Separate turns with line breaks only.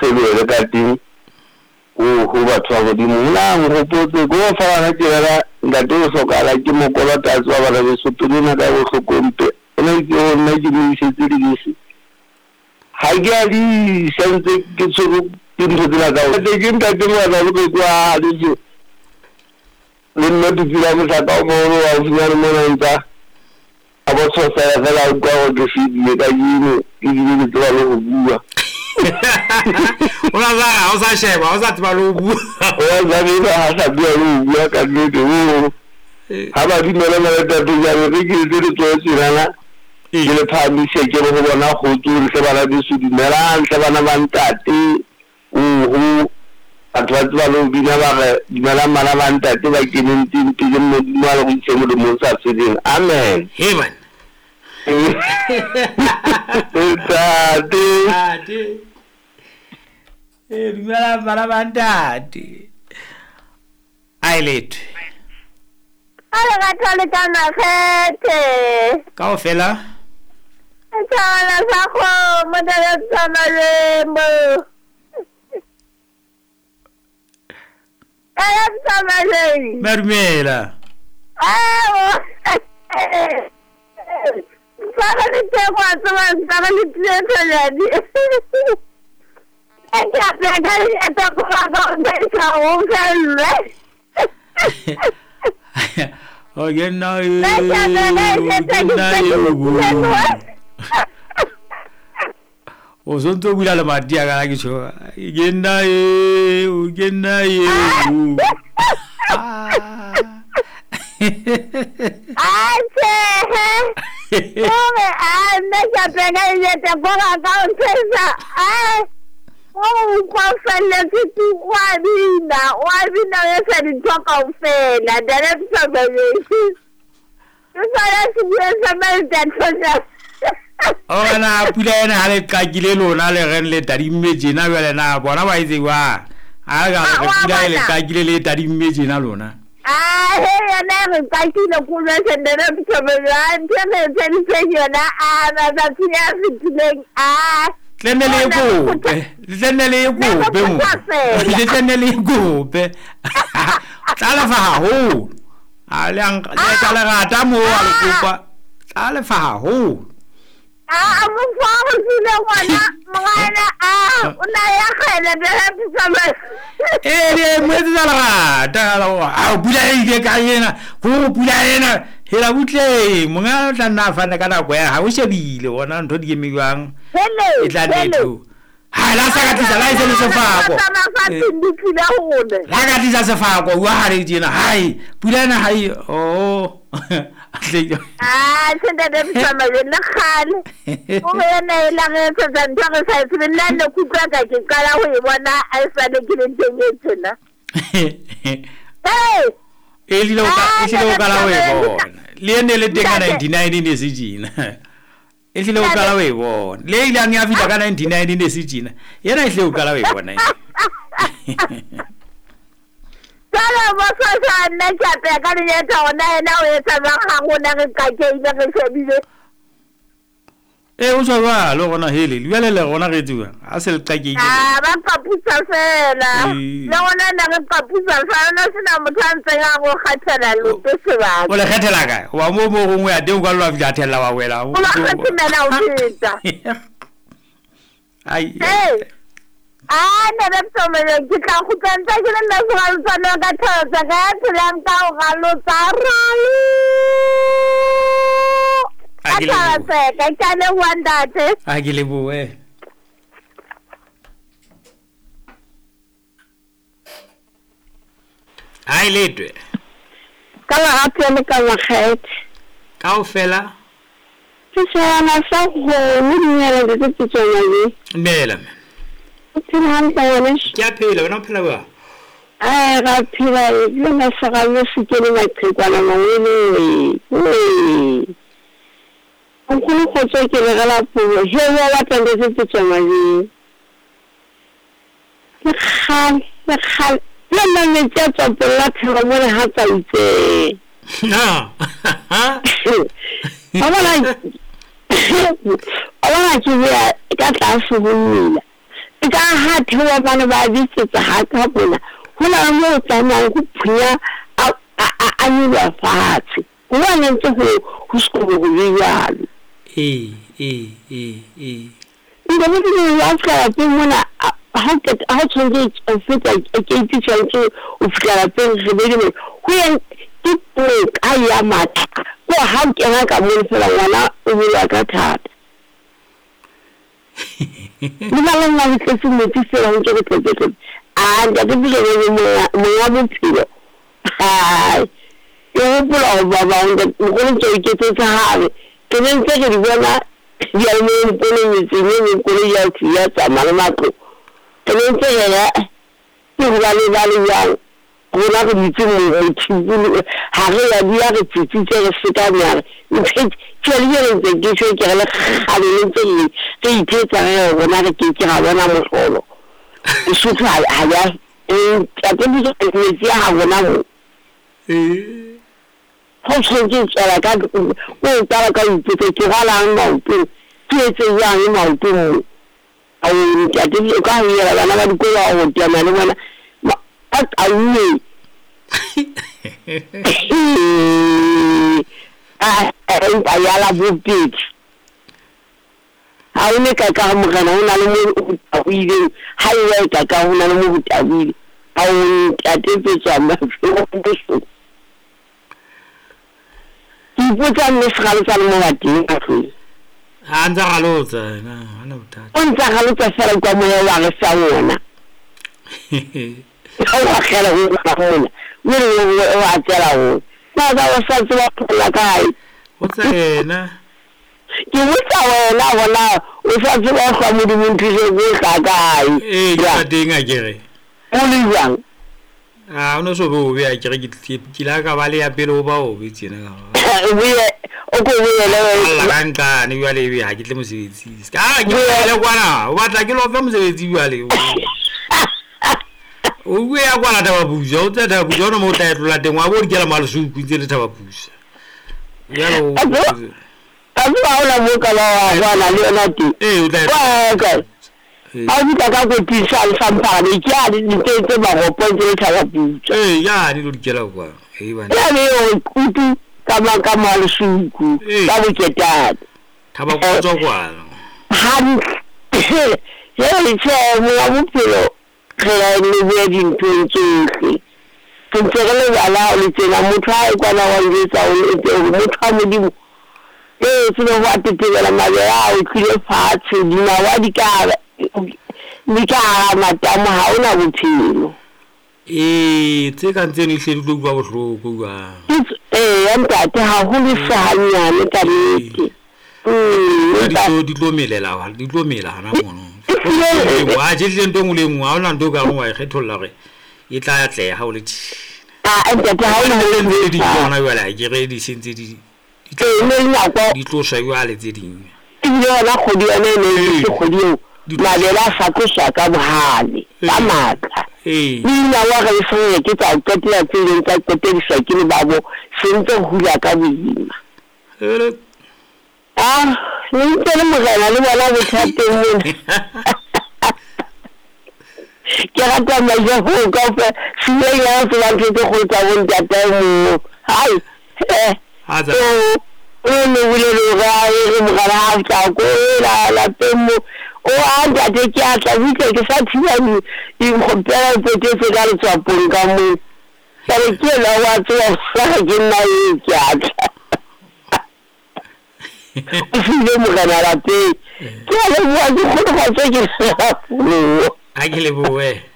thelohele ka teng ho batho ba Modimo. Na nkgopotse ko fa bana ke rera ntate o hlokahala ke mokolota a tseba bana beso pelo ena ka bohloko mpe. O na itse ho nna ke mo isetse dibese. Ha ke a di isa ntse ke tshwerwe ke ntho tsena tsa ho. Ke ntate Moatla Boqeku a Leso le nna Tutsila Mohlaka o moholo haufinyane mona ntsa a botshosela fela a utlwa gore ke fedile kajeno ebile ke tseba le go bua.
O la sa o sa sheba, o sa tseba le ho bua.
O la sa ha sa bua le ho bua ka nnete o. Ha ba dumela na le tate jalo re ke etse letsoho tjenana ke le phahamise ke re ho bona kgotso hle bana beso dumelang hle bana ba ntate oho batho ba tseba le ho bina ba re dumelang bana ba ntate ba keneng teng pele Modimo a le go ise molemong sa feleng amen.
He bana.
Ntate.
Ntate. Eh dumelang bana ba ntate. Ai letho.
Ka lerato le ka makgethe.
Kaofela.
Setjhabana sa kgomo taba tsa malemo. Taba tsa malemo.
Madumela.
Awo. Tsara le teko a tseba tsara le teko yani. Ke a ka le teko ga go ka o felle.
O ke nna o sontse o bula lemati a kana ke tjho ke nna eo ke nna eo.
Atjhe ore a nna ke a peka e ka ka o ntshesa a o utlwa o felletse tu wa bina o etsa dintho kaofela ke sona se bueng sa maltathosa.
O na pula ena ha le qakile lona le reng le tadimme tjena jwale na bona ba itse wa a ka re pula e le qakile le tadimme tjena lona.
A he yona re qakile ko jwetse nna ntho re tshediseng yona a matsatsing a fetileng a
tlenne le kope tlenne le kope mo le tlenne le kope tla lefa haholo a le tla le rata mo a le kopa tla lefa haholo.
A mo fa go tsile ngwana ngwana a o na ya kgele bela pitsama
e le mo etsetsa lerata a pula e ile ka ena go pula ena hela butle monga o tla nna a fana ka nako ya ha o shebile bona ntho di eme jwang e tla netho ha la sa ka tlisa la ise le sefako la ka tlisa sefako wa ha re tjena hai pula ena hai oh
ah sente de pitsama le nna kgale o re yena e la re etsetsa ntho re sa e tsebe nna ne ke utlwa ka ke qala ho e bona a e sale ke le teng e tjena. Hey
e hlile o qala ho e bona le ene le teng ka 99 ne se tjena e hlile o qala ho e bona le ile a fihla ka 99 ne se tjena yena e hlile o qala ho e bona.
Jwale bosasa nna ke a peha ka lenyatsa hona yena o etsa jwang ha rona re qakehile re shebile.
E o tjho jwalo rona hele jwale le rona re etsuwa ha se le qakehile.
A ba qapusa fela le rona ne re qapusa fela no sena motho a ntseng a go kgathela loto sebaka.
O le kgethela kae hoba mo mo gongwe ya teng o ka lo fihla thella wa wela
o ba kgathela o feta.
Ai
a ne re tsomele ke tla kgutla ntse ke le nna segaloswane ka thotsa ka ya phelang ka o galotsa ralo. A ke ke a leboha ntate.
A ke lebohe. Ai letwe.
Ka lerato le ka makgethe.
Kaofela.
Ke swana sa go dumela le tse tsona le.
Dumela.
O phela hantle ngwaneso?
Ke a phela, wena o phela jwang?
Ai ra phela le nna segalo se kene maqhekwana mangwele. Nkgono kgotso ke le gela puo he wa batla le tse tsona le. Le kgale le kgale le nna metsi a tswa pela thero mo le ha tsa itse.
Na.
Wa bona ke bea ka tlase ho mmila. Ka ha theoha bana ba bitsetsa ha ka mona, ho na le moo o tsamayang ho phunya a nyoloha fatshe. Hobane ntse ho sekolo ho be jwalo.
Ee, ee, ee, ee.
Ntate Modimo wa fihla lapeng mona, ha o qeta ha o tshwanetse o feta keiti tshwanetse o fihla lapeng re be le ho yeng ke noka ya matha. Ko ha o kena ka mono fela ngwana o bolowa ka thata. Le ba bang ba tletse metsi fela ho ntse go tletse tletse. A ntate Puso monga bophelo. Hai. Ke hopola ho ba bang mogolo ntse o iketsetsa habe. Ke ne ntse re di bona diyalemoyeng kolo metseng e meng koloi ya thwi ya tsamaya le matlo. Re ne ntse re re ke hobane ba le jwang rona re dutse mothibulu ha re ya dula re tsitsitse re sekame a re ntho tjhe le jwale ntse ke tjho ke re le kgale le ntse re ithetsa re re rona re ke ke ra bona mohlolo. Lesotho ha ya ntate Puso metsi a ha rona mo. Ho tshwanetse o tswela ka o qala ka ho ipotsa ke rwalang maotong, ke etse jwang maotong mo. Ao ntate o ka ho yela bana ba dikolo wa ho teana le bona ba qauwe. A empa ya la bobedi. Ha o ne ka ka morena ho na le mo o taboileng, ha e wa ka ka ho na le mo ho taboile. Ao ntate Petswa bohloko. Ke ipotsa mme sekgalo sa le mo bateng ka tlung.
Ha ntsa galotsa yena, ha na bothata.
O ntsa galotsa fela kwa moya wa re sa wona. Ha o akgela ho mona, mme le o a tsela ho. Na ba o sa tseba phela kae?
Botsa yena.
Ke botsa wena bona o sa tseba go Modimo nthuse go tla kae?
Ee, ke tla teng akere.
O le jwang?
A o no so be o be akere ke la ka ba le ya pele ho ba o be tjena ka.
Boye o ko boele
Alla ka nqane jwale ebe ha ke tle mosebetsing. Ah, ke le kwana, o batla ke lo fe mosebetsi jwale. O bue ya kwana Thabapusa, o tsa Thabapusa ona mo o tla etlola teng, wa bo di kela malesuku ntse le Thabapusa. Jwale o
A tseba ha ona mo ka ba wa kwana le yona teng.
Ee, o tla
Wa ka.
Ee.
Ha o fihla ka koting sa samphane ke a di tse maropo ntse le Thabapusa.
Ee, yane lo di kela kwa. Ee bana.
Ya be o kutu ka ma ka malesuku
Ee.
ka boketane.
Thabapusa kwana.
Hantle. Jwale tjhe monga bophelo re a leboha dinthong tsohle. Re ntse re lebala ha o le tjena motho ha e kwana wa njwetsa o etse hore motho wa Modimo ee tsebe ho a tetebela mabele a o tlile fatshe dinawa di ka hara matamo ha ona bophelo.
Ee, tse kang tseno ehlile di tlo utlwa bohloko jwang.
Ee, ntate haholo se hanyane ka nnete.
Di tlo melela, di tlo mela hana mono. A tje hlile ntho e nngwe le e nngwe, ha hona ntho o ka reng wa e kgetholla hore e tla atleha ha o le tjena.
Ah, ntate ha o le
ntse di tsona jwale ha ke re di sentse di
di
di tloswa jwale tse ding.
Ebile yona kgwedi yona e ne e se kgwedi eo mabele a sa tloswa ka bohale, ka matla.
Ee.
Le dinawa re se ke tsa qetela tse ileng tsa qetediswa ke le babo se ntse hula ka boima. Ah, le ntse le morena le bona bothateng mona. Ke rata majaho kaofela, seleng ya tseba ntho tse kgolo tsa bo ntatae moo. Hai,
Ha tsa
o ne bolele hore a re morena ha tla ko la lapeng mo. O a ntate ke a tla butle ke sa thiba dikgopela potetse ka letswapong ka moo. Kare ke ena wa tseba hore ke nna eo ke a tla. O file morena lapeng. Ke a leboha ke kgolofatso ke
Ha ke lebohe.